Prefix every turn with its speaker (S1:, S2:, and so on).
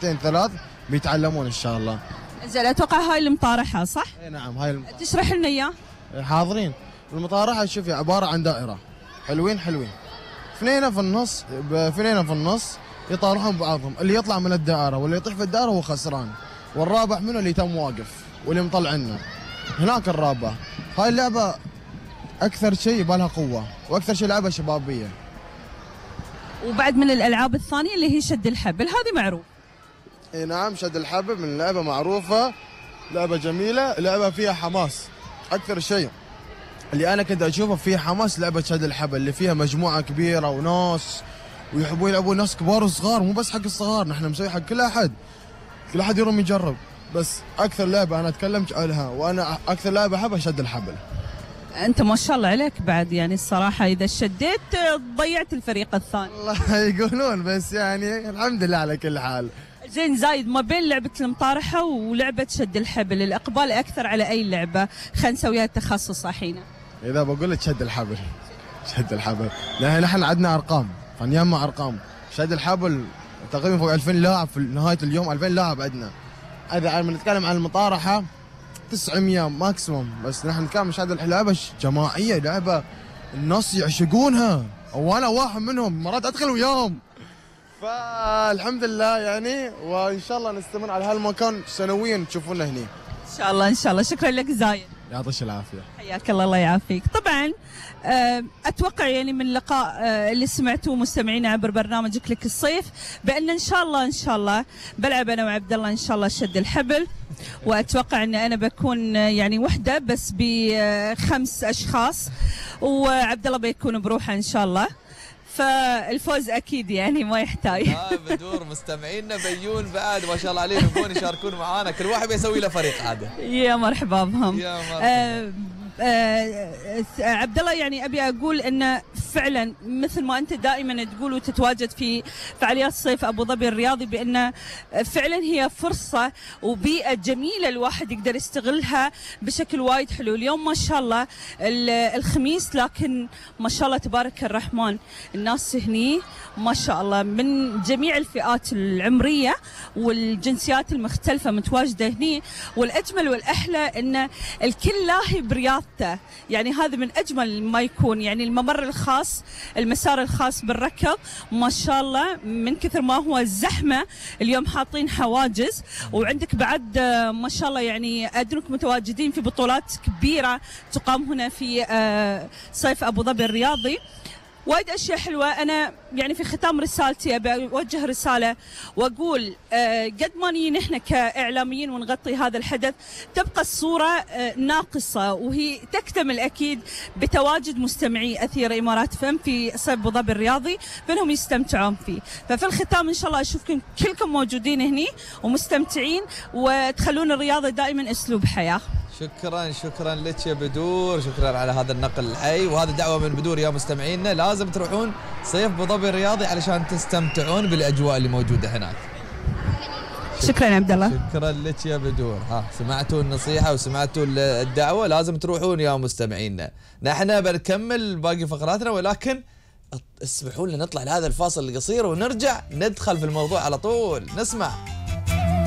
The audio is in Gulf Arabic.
S1: سنتين 3 بيتعلمون ان شاء الله.
S2: زين اتوقع هاي المطارحه صح؟
S1: اي نعم هاي
S2: تشرح لنا اياه.
S1: حاضرين. المطارحه شوفي عباره عن دائره حلوين اثنين في النص يطارحون بعضهم، اللي يطلع من الدائره واللي يطيح في الدائره هو خسران، والرابح منه اللي تم واقف واللي مطلعنا. هناك الرابح. هاي اللعبه اكثر شيء يبالها قوه واكثر شيء لعبه شبابيه.
S2: وبعد من الالعاب الثانيه اللي هي شد الحبل، هذه معروف.
S1: اي نعم شد الحبل من لعبه معروفه، لعبه جميله، لعبه فيها حماس. اكثر شيء اللي انا كنت اشوفه فيها حماس لعبه شد الحبل، اللي فيها مجموعه كبيره وناس ويحبون يلعبون، ناس كبار وصغار، مو بس حق الصغار، نحن مسوي حق كل احد يروم يجرب. بس اكثر لعبه انا اتكلم عنها وانا اكثر لعبه احبها شد الحبل.
S2: انت ما شاء الله عليك بعد، يعني الصراحه اذا شديت ضيعت الفريق الثاني.
S1: والله يقولون، بس يعني الحمد لله على كل حال.
S2: زين زايد، ما بين لعبه المطارحه ولعبه شد الحبل الاقبال اكثر على اي لعبه؟ خلينا نسويها تخصص الحين.
S1: اذا بقول لك شد الحبل لان نحن عندنا ارقام، فنجمع ارقام. شد الحبل تقريبا فوق 2000 لاعب في نهايه اليوم، 2000 لاعب عندنا. اذا بنتكلم عن المطارحه 900 ماكسيموم، بس نحن نتكلم شد لعبه جماعيه، لعبه الناس يعشقونها وانا واحد منهم، مرات ادخل وياهم. فالحمد لله يعني، وان شاء الله نستمر على هالمكان سنويا تشوفونا هنا
S2: ان شاء الله. ان شاء الله. شكرا لك زايد،
S1: يعطيك العافيه.
S2: حياك الله. الله يعافيك. طبعا اتوقع يعني من اللقاء اللي سمعتوه مستمعينا عبر برنامج كليك الصيف بان ان شاء الله بلعب انا وعبد الله ان شاء الله شد الحبل، واتوقع ان انا بكون يعني وحده بس ب5 اشخاص، وعبد الله بيكون بروحه ان شاء الله، فالفوز اكيد يعني ما يحتاج.
S3: بدور مستمعينا بيون بعد ما شاء الله عليهم يبون يشاركون معانا، كل واحد بيسوي له فريق عاده.
S2: يا مرحبا بهم.
S3: يا مرحبا.
S2: عبد الله، يعني ابي اقول ان فعلا مثل ما انت دائما تقول وتتواجد في فعاليات صيف ابو ظبي الرياضي، بان فعلا هي فرصه وبيئه جميله الواحد يقدر يستغلها بشكل وايد حلو. اليوم ما شاء الله الخميس، لكن ما شاء الله تبارك الرحمن الناس هني ما شاء الله من جميع الفئات العمريه والجنسيات المختلفه متواجده هني، والاجمل والاحلى ان الكل لاهي برياضته، يعني هذا من اجمل ما يكون. يعني الممر الخاص، المسار الخاص بالركض ما شاء الله من كثر ما هو الزحمه اليوم حاطين حواجز، وعندك بعد ما شاء الله يعني ادرك متواجدين في بطولات كبيره تقام هنا في صيف ابو ظبي الرياضي. وايد اشياء حلوه. انا يعني في ختام رسالتي ابي اوجه رساله واقول قد ما نيجي نحن كاعلاميين ونغطي هذا الحدث، تبقى الصوره ناقصه، وهي تكتمل اكيد بتواجد مستمعي اثير امارات فم في صيف ابو ظبي الرياضي، فانهم يستمتعون فيه. ففي الختام ان شاء الله اشوفكم كلكم موجودين هني ومستمتعين، وتخلون الرياضه دائما اسلوب حياه.
S3: شكرا لك يا بدور، شكرا على هذا النقل الحي، وهذا دعوه من بدور يا مستمعينا، لازم تروحون صيف ابو ظبي الرياضي علشان تستمتعون بالاجواء اللي موجوده هناك.
S2: شكرا يا عبد الله.
S3: شكرا لك يا بدور. سمعتوا النصيحه وسمعتوا الدعوه، لازم تروحون يا مستمعينا. نحن بنكمل باقي فقراتنا، ولكن اسمحوا لنا نطلع لهذا الفاصل القصير ونرجع ندخل في الموضوع على طول. نسمع.